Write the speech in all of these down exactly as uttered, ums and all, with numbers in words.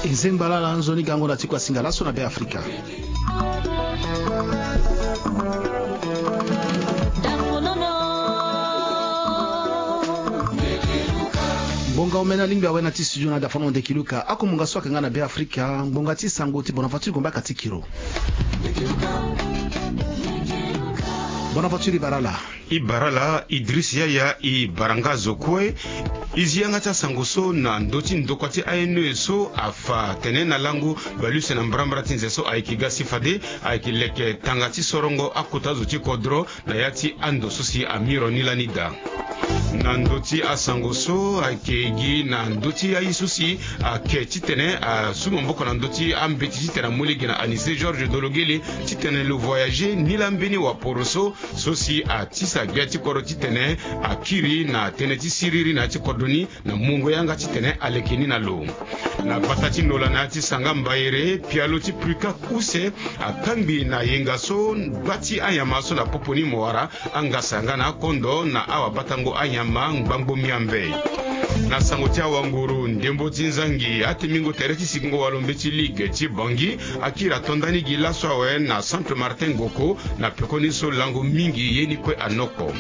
E zengba lala nzoni gango na ti kua singa laso na Be Afrika. Ngbonga omene alingbi awe na ti studio na dafono ndeki luka akomunga so ake nga na Be Afrika ngbonga ti sango ti bona voiture gombaka ti kiro. Bona voiture ibarala. Ibarala idris yaya ibaranga zo kue. Izi yanga ti asango so na ndö ti ndokua ti ane so afa tene na lango baluse na mbrambra ti nze so ayeke ga si fade ayeke leke tanga ti sorongo akota zo ti kodro na ya ti ando so si amiro ni lani daa. Na ndö ti asango so ayeke gi na ndö ti aye so si ake titene asu maboko na ndö ti ambeti titene amu lege na anise georges dologele titene lo voyage ni laa mbeni waporo so so si atisa gbia ti kodro titene akiri na tënë ti siriri na ya ti kodro ni na mungo yanga titene aleke ni na lo. Na gbata ti nola na ya ti sanga mbayere pialo ti prukak use akangbi na yenga so gba ti anyama so na popo ni mo wara angasa nga na akondo na awabatango anyama ngbangbo miambe. Na sango ti awanguru ndembo ti nzangi atemingo tere ti sikingo walo mbeti ligue ti bangi akiri ato ndani gi laso awe na centre martin ngoko na pekoni so lango mingi ye ni kue anoko.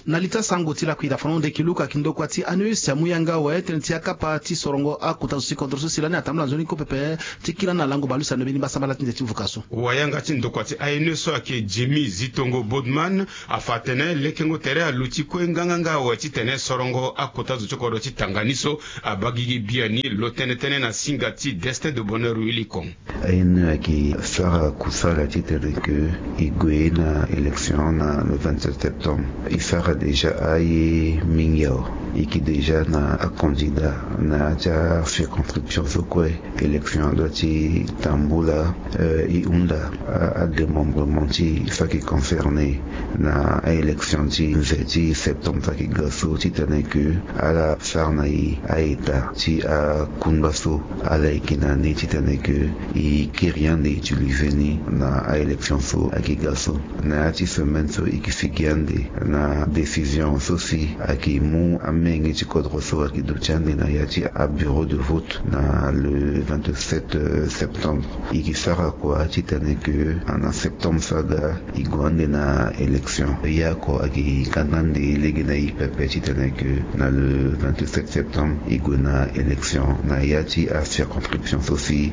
Na li ti asango ti lakui dafono ndeki luka kindokua ti aneus amu yanga awe tënë ti akapa ti sorongo akota zo ti kodro so si lani atambula nzoni kue pepe ti kiri na lango balusa na mbeni mbasambala ti nze ti vuka so. Wayanga ti ndokua ti aneus so ayeke jemi zitongo bodman afa atene lekengo tere aluti kue nganganga awe titene sorongo akota zo ti kodro ti tanga ni so abagigi biani lo tënë tënë na singa ti destin de bonheur willy kong. Aye ni ayeke sara kusala titene ke e gue na élection na le vingt-sept septembre. E sara déjà aye mingi awe. E yeke déjà na acandidat na ya ti acirconscription so kue élection adua ti tambula. E hunda adémembrement ti e so ayeke concerné na aélection ti nze ti septembre so ayeke ga so titene ke ala sara na e a-état ti akungba so ala yeke na ni titene ke e kiri ande utiliser ni na aélection so ayeke ga so. Na ya ti semaine so e yeke sigi ande na décision so si ayeke mu amenge ti kodro so ayeke duti ande na ya ti abureau de vote na le vingt-sept septembre. E yeke sara kua titene ke na septembre so aga e gue ande na élection. Ya oko ayeke kanga ande lege na e pepe titene ke na le vingt-sept septembre e gue na élection na ya ti acirconscription so si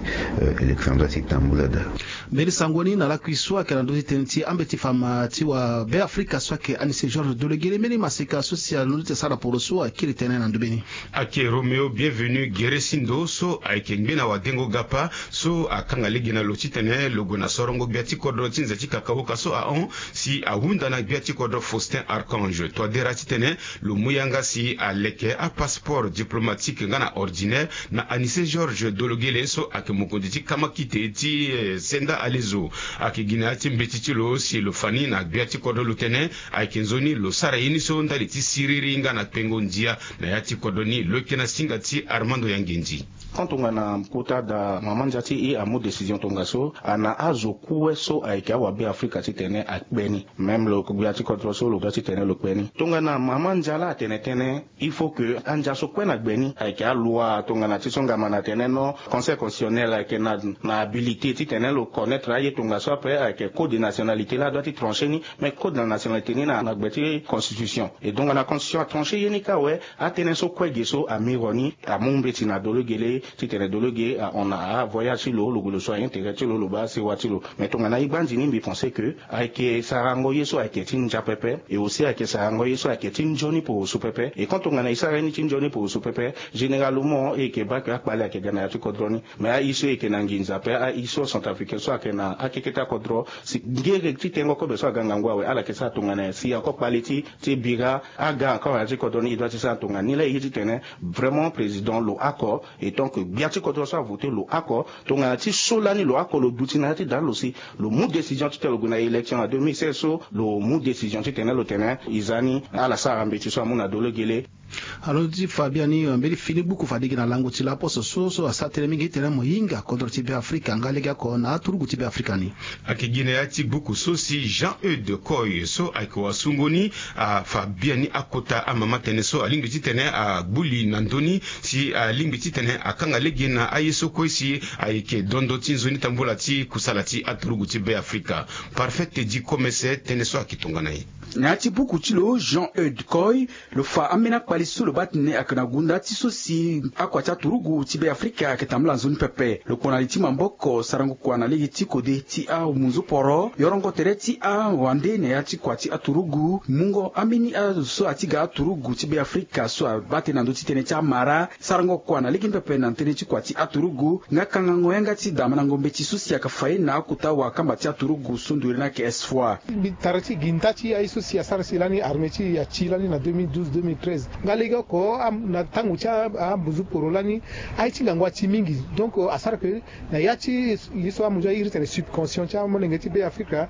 élection doit ti tambula daa. Mbeni sango ni na lakui so ayeke na ndö ti tënë ti ambeti fama ti wa Be Afrika so ayeke anise georges dologele mbeni maseka so si alondo ti asara poro so akiri tënë na ndö mbeni. Ake romeo bienvenu gere sindo so ayeke ngbe na wadengo gapa so akanga lege na lo titene lo gue na sorongo gbia ti kodro ti nze ti kakahoka so ahon si ahunda na gbia ti kodro faustin archange toadera titene lo mu yanga si aleke apasseport diplomatique nga na ordinaire na anise georges dologele so ayeke mokonzi ti kamakite ti senda alezo. Ayeke gi na ya ti mbeti ti lo si lo fa ni na gbia ti kodro lo tene ayeke nzoni lo sara ye ni so ndali ti siriri nga na kpengo ndia na ya ti kodro ni lo yeke na singa ti armando ya nginzi. Tant tongana kota da mama ndia ti e amu décision tongaso ana azo kue so ayeke awabe afrika titene akpe ni même lo gbia ti kodro so lo ga titene lo kpe ni tongana mama ndia laa atene tënë. Il faut que andia so kue na gbe ni ayeke aloi tongana ti so ngama na tene non. Conseil constitutionnel ayeke na na habilité titene lo connaître aye tongaso ape ayeke code de nationalité laa adua ti trancher ni. Mais code de nationalité ni na na gbe ti constitution. Et donc na constitution atrancher ye ni kâ awe. Atënë so kue ge so amiro ni amu mbeti na dolo ge lê titene dolo ge ahon na avoyage ti lo lo gue lo so aintérêt ti lo lo baa asewa ti lo. Mais tongana e gbanzi ni mbi pense que ayeke sarango ye so ayeke ti ndia pepe. Et aussi ayeke sarango ye so ayeke ti nzoni poroso pepe. Et quand tongana e sara ye ni ti nzoni poroso pepe, généralement e yeke baa ke akpale ayeke ga na ya ti kodro ni. Mais aye so e yeke na nginza ape aye so centrafricain so ayeke na akeke ti akodro si ngere ti tengo kobe so aga ngangu awe ala yeke sara tongana nyen si encore kpale ti ti e bira aga encore na ya ti kodro ni e dua ti sara tongana nyen laa e ye titene vraiment président lo oko. Et donc gbia ti kodro so avote lo oko tongana ti so lani lo oko lo duti na ya ti dani lo si lo mu décision titene lo gue na élection na deux mille seize so lo mu décision titene lo tene e za ni ala sara mbeti so amu na dolo gele. Alo ti fa biani mbeni fini buku fade gi na lango ti laposo so so asara tënë mingi titene mo hinga kodro ti Beafrika nga legeoko na aturugu ti Beafrika ni. Ayeke gi na ya ti buku so si Jean Eudes Koy so ayeke wasungo ni afa biani akota amama tënë so alingbi titene agbu li na ndö ni si alingbi titene akanga lege na aye so kue si ayeke dondo ti nzoni tambula ti kusala ti aturugu ti Beafrika. Parfait Teddy Komese tënë so ayeke tongana ye. Na ya ti buku ti lo Jean Eudes Koy, lo fa ambeni akpali so lo baa tene ayeke na gunda ti so si akua ti aturugu ti Beafrika ayeke tambula nzoni pepe. Lo kpo na li ti maboko sarango kua na lege ti kode ti amunzu poro, yorongo tere ti awande na ya ti kua ti aturugu, mungo ambeni azo so ati ga aturugu ti Beafrika so abaa tënë na ndö ti tënë ti amara, sarango kua na lege ni pepe na tënë ti kua ti aturugu, nga kangango yanga ti damandango mbeti so si ayeke fa ye na akota wakamba ti aturugu so nduru ni ayeke S F O A. Mbi tara ti gi nda ti aye so si asara si lani armée ti e ati lani na deux mille douze deux mille treize. Nga legeoko am-, na tango ti a-, ambuzu poro lani, aye ti ngangu ati mingi. Donc, euh, asara ke na ya ti ye so amu nzoni airi tene subvention ti amolenge ti Beafrika,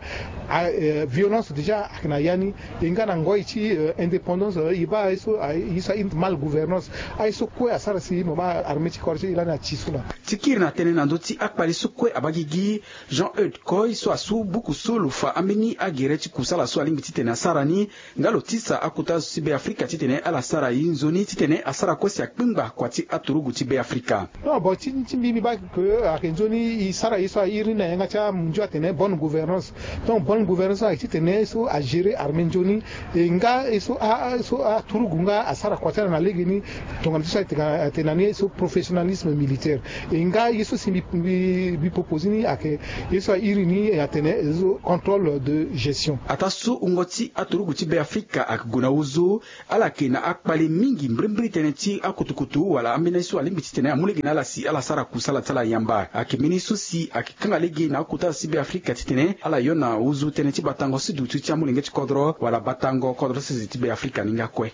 a, euh, violence déjà ayeke na ya ni. E nga na ngoi ti, euh, indépendance, euh, e baa aye so, aye so airi mal gouvernance. Aye so kue asara si mo baa armée ti kodro ti e lani ati so laa. Ti kiri na tënë na ndö ti akpali so kue abaa gigi, Jean Eudes Koy so asu buku so lo fa ambeni agere ti kusala so alingbi titene asara ni, nga lo tisa akota zo ti Beafrika titene ala sara ye nzoni titene asara kue si akpengba kua ti aturugu ti Beafrika. Non, bon, ti, ti mbi, mbi baa ke ayeke nzoni e sara ye so airi ni na yanga ti amunzu atene bonne gouvernance. Donc bonne gouvernance ayeke titene so agérer armée nzoni, e nga ye so a, a, so aturugu nga asara kua ti ala na legeni, tongana ti so ayeke tene na ni ye so professionnalisme militaire. E nga ye so si mbi, mbi, mbi propose ni ayeke ye so airi ni atene ye so contrôle de gestion. Ataa so wungo ti aturugu ti Beafrika ayeke gue na ozo, ala yeke na akpale mingi mbrimbri tënë ti akutukutu wala ambeni so alingbi titene amu lege na ala si ala sara kusala ti ala yamba. Ayeke mbeni so si ayeke kanga lege na akota ti Beafrika titene ala yo na ozo tënë ti batango si dutu ti amolenge ti kodro wala batango kodro sese ti Beafrika ni nga kue.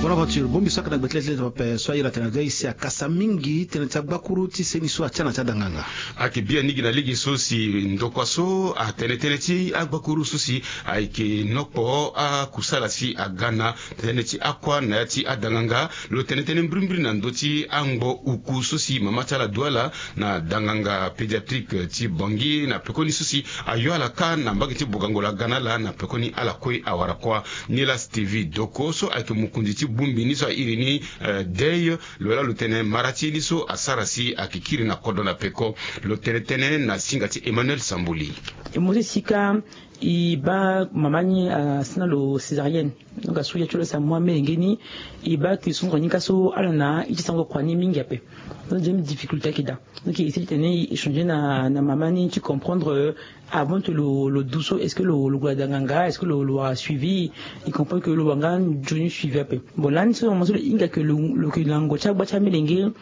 Bonaventure, bongbi so ayeke na gbe ti le ti le ti pepe so airi atene na dei si akasa mingi tënë ti agbakuru ti seni so atia na ti adanganga. Ayeke biani gi na lege so si ndokua so atene tënë ti agbakuru so si ayeke nokpo akusala si aga na tënë ti akua na ya ti adanganga. Lo tene tënë mbrimbri na ndö ti angbo uku so si mama ti ala du ala na danganga pédiatrique ti Bangui na pekoni so si ayo ala kâ na mbage ti bogango la ga na ala na pekoni ala kue awara kuâ. Ni laa Stevie Doko so ayeke mokonzi ti bongbi ni so airi ni, eh, dei, lo laa lo tene mara ti ye ni so asara si ayeke kiri na kodro na peko. Lo tene tënë na singa ti Emmanuel Sambuli. E mo ti sika e baa mama ni asara na lo césarienne. Donc asara ya ti lo si amu amolenge ni, e baa ke songoro ni ka so ala na iti sango kua ni mingi ape. Donc déjà difficulté ayeke daa. Donc e essayer titene e échanger na, na mama ni ti comprendre, euh, avant que lo, lo du so, est-ce que lo, lo gue na danganga, est-ce que lo, lo wara suivi? E comprendre que lo wara nga nzoni suivi ape. Bon lani so mama so lo hinga ke lo, lo yeke na ngangu ti agba ti amolenge,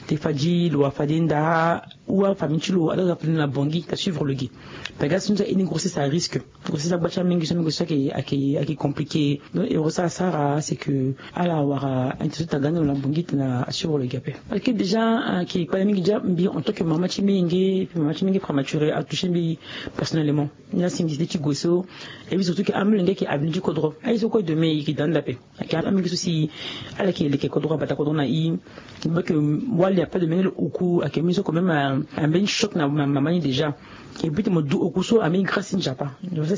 te fadi lo wara fade nda ou afamille ti lo ala ga fade na Bangui ta suivre lo gi. Parce que so ni so aye ni grossesse à risque. Grossesse agba ti amolenge so, amolenge so ayeke, ayeke, ayeke compliqué. Donc e wara so asara c'est que ala wara intention ti aga ni lo na Bangui tena asuivre lo gi ape. Parce que déjà ayeke kpale mingi déjà mbi en tant que mama ti menge, mama ti menge prématuré atouché mbi personnellement. Ni asingi ti gue so. Et puis surtout que amolenge ayeke avenir ti kodro. Aye so kue demain e yeke daa nda ape. Ayeke amolenge so si ala yeke leke kodro, abata kodro na e. Mbi baa ke wali ape de menge lo oku ayeke mbeni so quand même, euh, ambeni choc na ma- mama ni déjà. E but mo du oku so ambeni grâce ti Nzapa.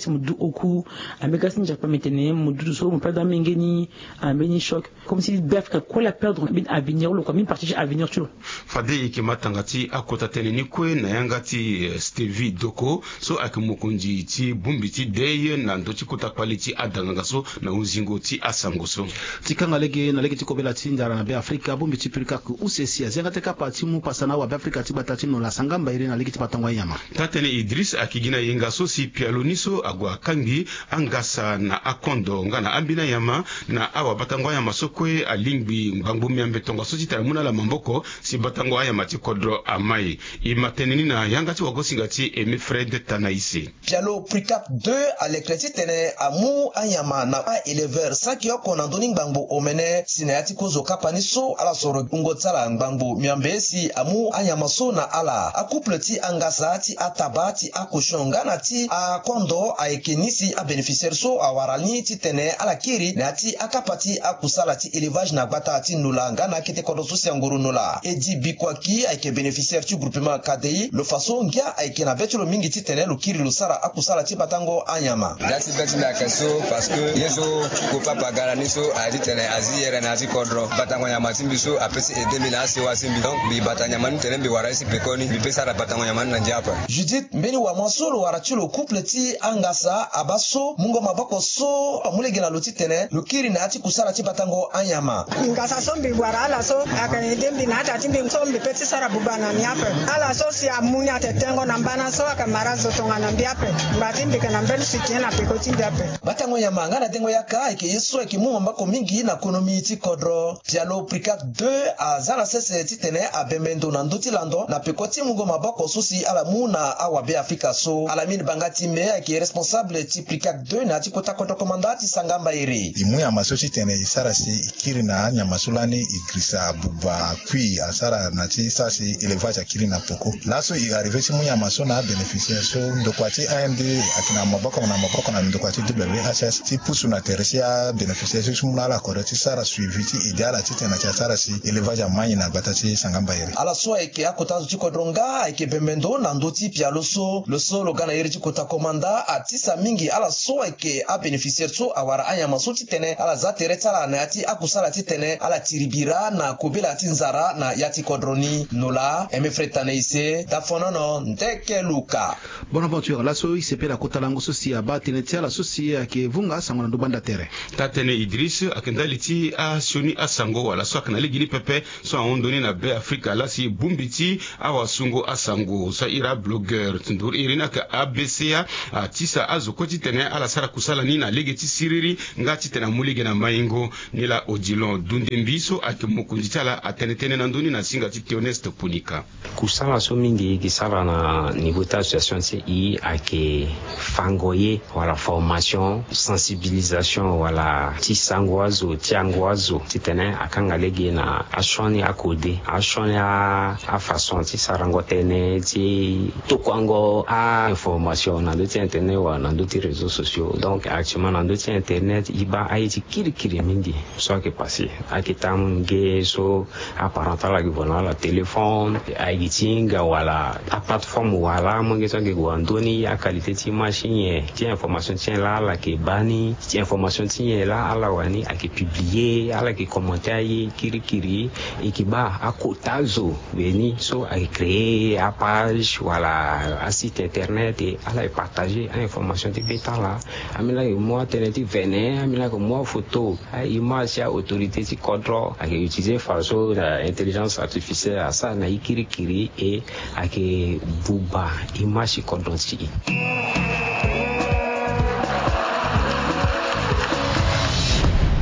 Mo du oku ambeni grâce ti Nzapa, mais tene mo duti so mo perdre amolenge ni, ambeni choc. Comme si Beafrika kue la perdre ambeni avenir lo kua, ambeni partie ti avenir ti lo. Fade e yeke ma tanga ti akota tënë ni kue na yanga ti, eh, Stevie Doko so ayeke mokonzi ti bongbi ti dei na ndö ti kota kpali ti adanganga so na hunzingo ti asango so. Ti kanga lege na lege ti kobela ti ndara na Beafrika, bongbi ti Purkak use si azi yanga ti kapa ti mu pasa na awabeafrika ti gbata ti Nola Sangamba iri na lege ti batango anyama. Taa-tënë Idriss ayeke gi na yenga so si pialo ni so ague akangbi angasa na akondo nga na ambeni anyama na awabatango anyama so kue alingbi ngbangbo miambe tongaso titene amu na ala maboko si batango anyama ti kodro amai. E ma tënë ni na yanga ti wagosinga ti Aimé Fred Tanaïsé. Pialo Purkak deux alekere titene amu anyama na a-éleveur saki oko na ndö ni ngbangbo omene si na ya ti kozo kapa ni so ala soro wungo ti ala ngbangbo miambe si amu anyama so na ala. Acouple ti angasa ti ata Baa ti akosion nga na ti akondo ayeke ni si abénéficiaire so awara ni titene ala kiri na ya ti akapa ti akusala ti élevage na gbata ti Nola nga na akete kodro so si angoro Nola. Edi Bikuaki ayeke bénéficiaire ti groupement K D I. Lo fa so ngia ayeke na be ti lo mingi titene lo kiri lo sara akusala ti batango anyama. Nda ti be ti mbi ayeke so parce que ye so Ko papa aga na ni so aye titene azi yere na ya ti kodro. Batango nyama ti mbi so apesi aidé mbi na asewa ti mbi. Donc mbi bata nyama ni tene mbi wara ye si pekoni. Mbi pe sara batango nyama ni na ndia ape. Judith mbeni wama so lo wara ti lo couple ti angasa abaa so mungo maboko so amu lege na lo titene lo kiri na ya ti kusala ti batango anyama. Ngasa so mbi wara ala so ayeke aidé mbi na ata ti mbi so mbi pe ti sara buba na ni ape. Ala so si amu ni ayeke tengo na mbana so ayeke mara zo tongana mbi ape. Ngba ti mbi yeke na mbeni soutien na peko ti mbi ape. Batango nyama nga na dengo yaka ayeke ye so ayeke mu maboko mingi na konomi ti kodro. Pialo Pricac deux aza na sese titene abembe ndo na ndö ti lando na peko ti mungo maboko so si ala mu na awabe Afrika so. Alamine Banga Time ayeke responsable ti Pricac deux na ya ti kota kodro komanda ti Sangamba Ere. E mu nyama so titene e sara si e kiri na anyama so lani e girisa abuba akui asara na ti sara si élevage akiri na peko. Laso e arrivé ti mu nyama so na abénéficiaire so ndokua ti A N D ayeke na maboko na maboko na ndokua ti W H S ti pusu na tere ti abénéficiaire so ti mu na ala kodro ti sara suivi ti aidé ala titene ayeke asara si élevage amai na gbata ti Sangamba Ere. Ala so ayeke akota zo ti kodro nga ayeke bembe ndo na ndö ti pialo so. Lo so lo ga na iri ti kota komanda atisa mingi ala so ayeke abénéficiaire so awara anyama so titene ala za tere ti ala na ya ti akusala titene ala tiri bira na kobela ti nzara na ya ti kodro ni. Nola Aimé Fred Tanaïse, Tafonono, Ndeke Luka. Bonaventure, laso e sepela kota lango so si abaa tënë ti ala so si ayeke vunga asango na ndo banda tere. Taa-tënë Idriss, ayeke ndali ti asioni asango wala so ayeke na lege ni pepe so ahon ndo ni na Be Afrika laa si bongbi ti awasungo asango so ahiri ablogueur ti nduru iri ni ayeke A B C A, atisa azo kue titene ala sara kusala ni na lege ti siriri nga titene amu lege na maingo. Nilaa Odilon Dundembi so ayeke mokonzi ti ala atene tënë na ndö ni na singa ti Théoneste Punika. Kusala so mingi e yeke sara na niveau ti association ti e ayeke fango ye wala formation, sensibilisation wala ti sango azo, ti yango azo titene akanga lege na asioni akode, asioni a, afaçon ti sarango tënë, ti tokuango a-information na ndö ti internet wala na ndö ti réseaux sociaux. Donc actuellement na ndö ti internet e baa aye ti kirikiri mingi so ayeke passé. Ayeke taa nge so aparent ti ala ayeke gue na ala téléphone, ayeke ti hinga wala aplateforme wala molenge so ayeke gue na ndö ni, aqualité ti image ti nyen, ti information ti nyen laa ala yeke baa ni, ti information ti nyen laa ala wani ayeke publier, ala yeke commenter aye kirikiri. E yeke baa akota zo mbeni so ayeke créer apage wala asite internet, e ala yeke partager ainformation ti be ti ala. Ambeni laa ayeke mu atënë ti vene, ambeni laa ayeke mu afoto, a-image ti a-autorité ti kodro, ayeke utiliser fadeso na intelligence artificielle asara na e kirikiri, e ayeke buba image ti kodro ti e.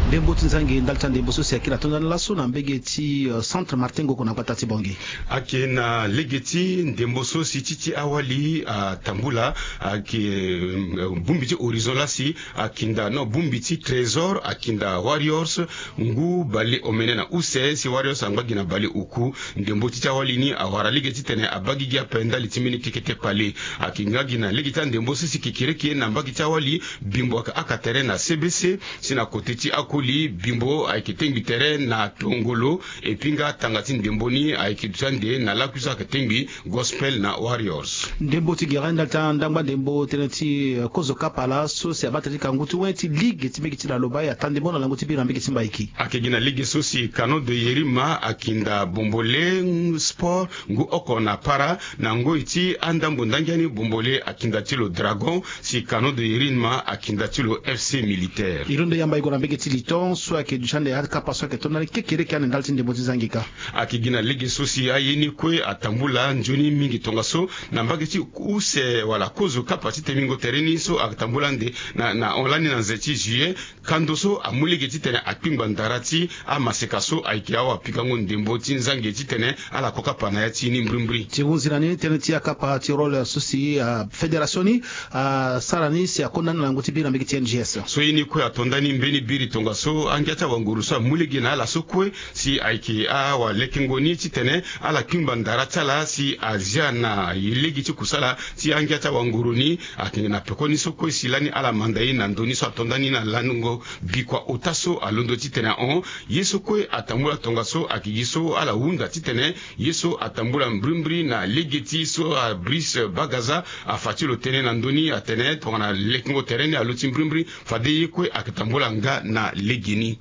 Ndembo ti nzangi ndali ti andembo so si ayeke na tondani laso na mbege ti, euh, Centre Martin Ngoko na gbata ti Bangui. Ayeke na lege ti ndembo so si ti ti awali atambula, ayeke, euh, bongbi ti Horizon laa si akinda, non, bongbi ti Trésor akinda Warriors ngu bale omene na use, si Warriors angba gi na bale oku. Ndembo ti ti awali ni awara lege titene abaa gigi ape ndali ti mbeni keke ti kpale. Ayeke nga gi na lege ti andembo so si kekereke na mbage ti awali, Bimbo ayeke haka tere na C B C, si na kote ti akoli, Bimbo ayeke tengbi tere na tongolo. Epui nga tanga ti ndembo ni ayeke duti ande na lakui so ayeke tengbi Gospel na Warriors. Ndembo ti gere ndali ti andangba ndembo tënë ti, eh, kozo kapa laso si abaa tënë ti kangu ti wen ti ligue ti mbege ti Laloba, e ata ndembo na lango ti biri na mbege ti Mbaiki. Ayeke gi na lege so si Canon de Yérim akinda Bombolé Sport ngu oko na para, na ngoi ti andambo ndangiani Bombolé akinda ti lo Dragon, si Canon de Yérim akinda ti lo F C Militaire. E londo yamba e gue na mbege ti Liton so ayeke duti ande akapa so ayeke tondani kekereke ande ndali ti ndembo ti zangi kâ. Ayeke gi na lege so si aye ni kue atambula nzoni mingi tongaso na mbage ti use wala kozo kapa ti temingo tere ni so atambula ande na, na hon lani na nze ti juillet. Kando so amu lege titene akpingba ndara ti amaseka so ayeke awapikango ndembo ti nzangi titene ala ko kapa na ya ti ni mbrimbri. Ti hunzi na ni tënë ti akapa ti rôle so si, ah, fédération ni asara ni si akonda ni na lango ti biri na mbege ti N G S. So ye ni kue ato ndani mbeni biri tongaso So angia ti awanguru so amu lege na ala so kue si ayeke awalekengo ni titene ala kingba ndara ti ala si azia na lege ti kusala ti angia ti awanguru ni. Ayeke na pekoni so kue si lani ala manda ye na ndo ni so ato ndani na lango bikua ota so alondo titene ahon ye so kue atambula tongaso ayeke gi so ala hunda titene ye so atambula mbrimbri na lege ti so abris bagaza afa ti lo tene na ndö ni atene tongana lekengo tere ni aluti mbrimbri fade ye kue ayeke tambula nga na legeni.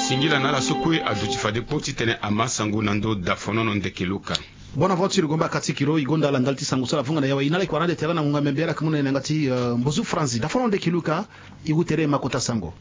Singila na ala so kue aduti fade kpo titene ama sango na ndö dafonono ndeke luka. Bonne aventure gomba kati kilo igonda ala ndali ti sango so ala vunga na yawa inala ikua na ande tere na ngonga membe ala kumuna na yanga ti mbozu franzi dafonono ndeke luka. Iwu tere ma kota sango.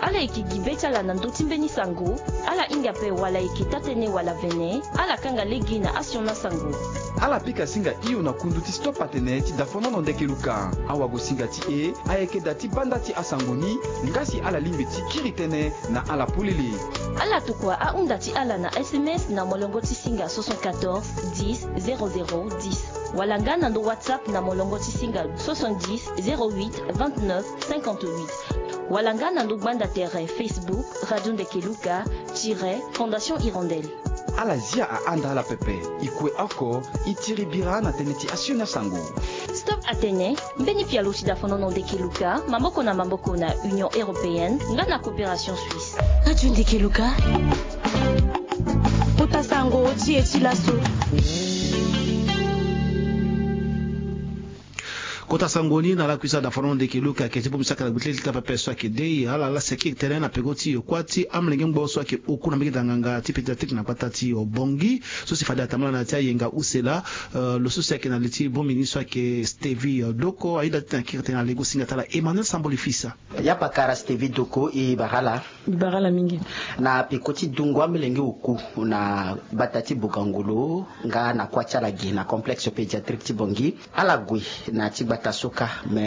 Ala yeke gi be ti ala na ndö ti mbeni sango. Ala hinga ape wala ayeke taa-tënë wala vene. Ala kanga lege na asiona sango. Ala pika singa hio na kundu ti stop atene ti dafonono ndeke luka. Awagosinga ti e ayeke daa ti banda ti asango ni. Nga si ala lingbi ti kiri tënë na ala polele. Ala tokua ahunda ti ala na sms na molongo ti singa soixante-quatorze dix zéro zéro dix. Wala nga na ndo whatsapp na molongo ti singa soixante-dix zéro huit vingt-neuf cinquante-huit. Wala nga na ndo gbanda tere facebook radio ndeke luka tire fondation hirondelle. Ala zia ahanda ala pepe. E kue oko e tiri bira na tënë ti asioni asango. Stop atene mbeni pialo ti dafonono ndeke luka maboko na maboko na union européenne nga na coopération suisse. Radio ndeke luka. Kota sango ti e ti laso. Kota sango ni na ala kuisa dafonono ndeke luka ayeke ti bongbi saka na gbe ti leta pepe so ayeke dei ala ala seki tënë na peko ti yokua ti amolenge ngbo so ayeke oku na mbege danganga ti pédiatrique na gbata ti bongi. So si fade atambula na ya ti ayenga use laa. Lo so si ayeke na li ti bongbi ni so ayeke stevi doko ahinda ti na kiri tënë na lego singa ti ala emmanuel samboli fisa. Ya pakara stevi doko e bara ala. Bara ala mingi. Na peko ti dungo amolenge oku na gbata ti bogangolo nga na kuâ ti ala gi na complexe pédiatrique ti bongi. Ala gue na ya ti gbata so kâ me.